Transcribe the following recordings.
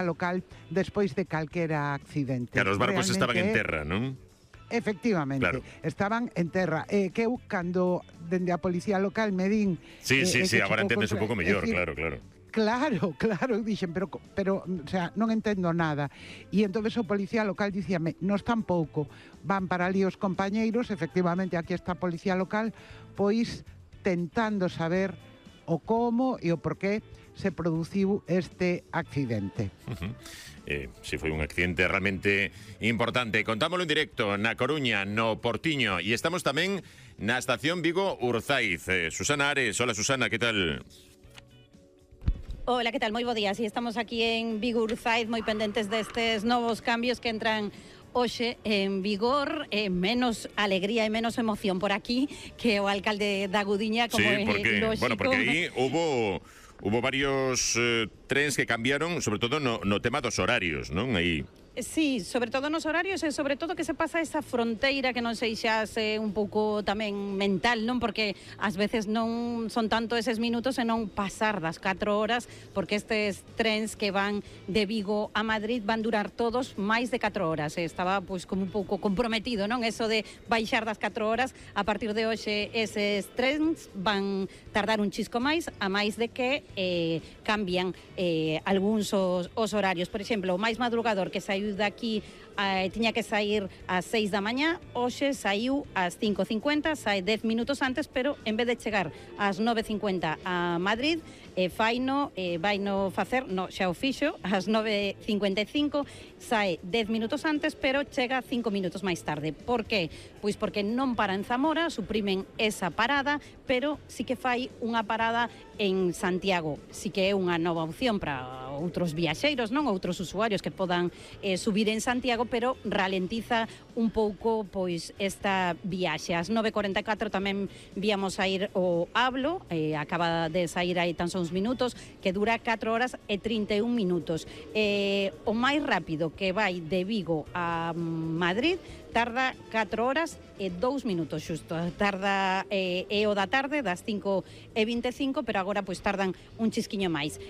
local despois de calquera accidente. Claro, os barcos estaban en Realmente, terra, non? efectivamente, Claro. estaban en terra. Que eu, cando dende a policía local me din... Sí, agora chocou entendes un pouco mellor, claro. Claro, dixen, pero, o sea, non entendo nada. E entonces o policía local dicíame, nos tampouco, van para ali os compañeiros, efectivamente, aquí está a policía local, pois tentando saber o como e o porqué se produciu este accidente. Si foi un accidente realmente importante. Contámoslo en directo na Coruña, no Portiño, e estamos tamén na estación Vigo-Urzaiz. Susana Ares, hola Susana, que tal? Hola, que tal? Moi bo día. Si estamos aquí en Vigo-Urzaiz, moi pendentes destes novos cambios que entran hoxe en vigor, menos alegría e menos emoción por aquí que o alcalde da Gudiña, como sí, porque, lógico. porque aí hubo varios trens que cambiaron, sobre todo no tema dos horarios, non? Aí. Sí, sobre todo nos horarios e sobre todo que se pasa esa fronteira que non sei xa se un pouco tamén mental, non? Porque ás veces non son tanto eses minutos e non pasar das 4 horas, porque estes trens que van de Vigo a Madrid van durar todos máis de 4 horas. Estaba pois como un pouco comprometido, non? Eso de baixar das 4 horas, a partir de hoxe eses trens van tardar un chisco máis, a máis de que cambian algúns os horarios. Por exemplo, o máis madrugador que saiu de aquí tiña que sair ás 6 da mañá, hoxe saiu ás 5:50, sai 10 minutos antes, pero en vez de chegar ás 9:50 a Madrid, vaino facer, xa o fixo, ás 9:55, sai 10 minutos antes, pero chega 5 minutos máis tarde. Por qué? Pois porque non para en Zamora, suprimen esa parada, pero sí que fai unha parada en Santiago. Sí que é unha nova opción para outros viaxeiros, non? Outros usuarios que podan subir en Santiago, pero ralentiza un pouco pois esta viaxe. Ás 9:44 tamén víamos a ir o Ablo, acaba de sair aí tan só uns minutos, que dura 4 horas e 31 minutos. O máis rápido que vai de Vigo a Madrid tarda 4 horas e 2 minutos xusto. Tarda o da tarde, das 5:25, pero agora pois tardan un chisquiño máis.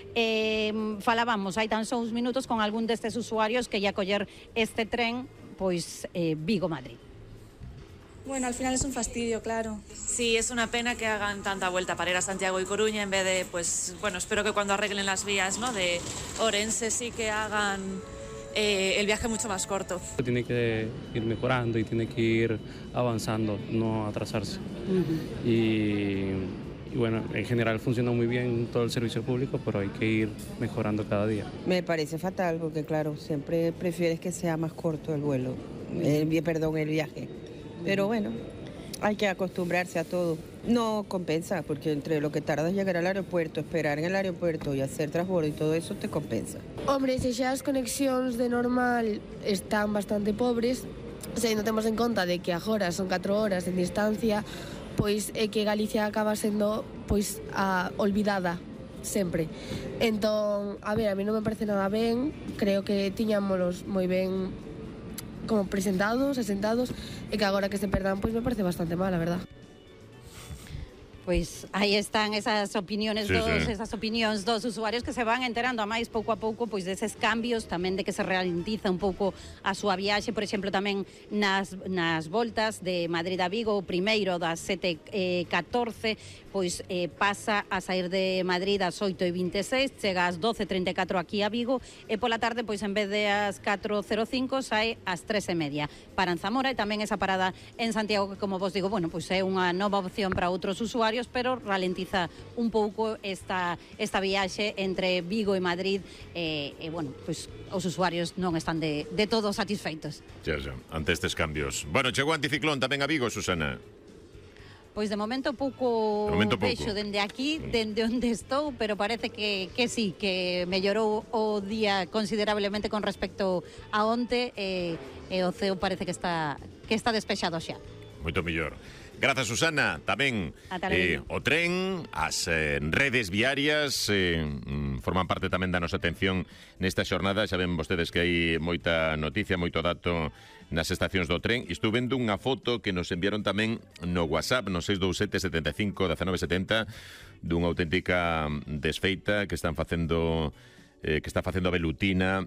Falábamos hai tan só uns minutos con algún destes usuarios que ia coller este tren pois Vigo-Madrid. Bueno, al final es un fastidio, claro. Sí, es una pena que hagan tanta vuelta para ir a Santiago y Coruña en vez de, pues, bueno, espero que cuando arreglen las vías, ¿no?, de Orense sí que hagan el viaje mucho más corto. Tiene que ir mejorando y tiene que ir avanzando, no atrasarse. Y bueno, en general funciona muy bien todo el servicio público, pero hay que ir mejorando cada día. Me parece fatal porque, claro, siempre prefieres que sea más corto el vuelo, el viaje. Pero bueno, hay que acostumbrarse a todo. No compensa, porque entre lo que tardas en llegar al aeropuerto, esperar en el aeropuerto y hacer transbordo y todo eso te compensa. Hombre, se xa as conexións de normal están bastante pobres, se non temos en conta de que agora son 4 horas en distancia, pois é que Galicia acaba sendo pois a olvidada sempre. Entón, a ver, a mí non me parece nada ben, creo que tiñámolos moi ben como presentados, asentados, e que agora que se perdan, pois me parece bastante mal, a verdad. Pois aí están esas opinións esas opinións dos usuarios que se van enterando a máis pouco a pouco pois deses cambios, tamén de que se ralentiza un pouco a súa viaxe, por exemplo, tamén nas voltas de Madrid a Vigo, o primeiro das 7:14, pois pasa a sair de Madrid ás 8:26, chega ás 12:34 aquí a Vigo, e pola tarde, pois en vez de ás 4:05, sai ás 3:30 para en Zamora, e tamén esa parada en Santiago, que, como vos digo, bueno, pois é unha nova opción para outros usuarios, pero ralentiza un pouco esta viaxe entre Vigo e Madrid, bueno, pois os usuarios non están de todo satisfeitos. Xa, ante estes cambios. Bueno, chegou anticiclón tamén a Vigo, Susana. Pois de momento pouco vexo dende aquí, dende onde estou, pero parece que sí, que mellorou o día considerablemente con respecto a onte, e o ceo parece que está despexado xa. Moito mellor. Grazas, Susana. Tamén o tren, as redes viarias forman parte tamén da nosa atención nesta xornada. Xa ven vostedes que hai moita noticia, moito dato nas estacións do tren. Estou vendo unha foto que nos enviaron tamén no WhatsApp, no 627 75 1970, dunha auténtica desfeita que está facendo a Velutina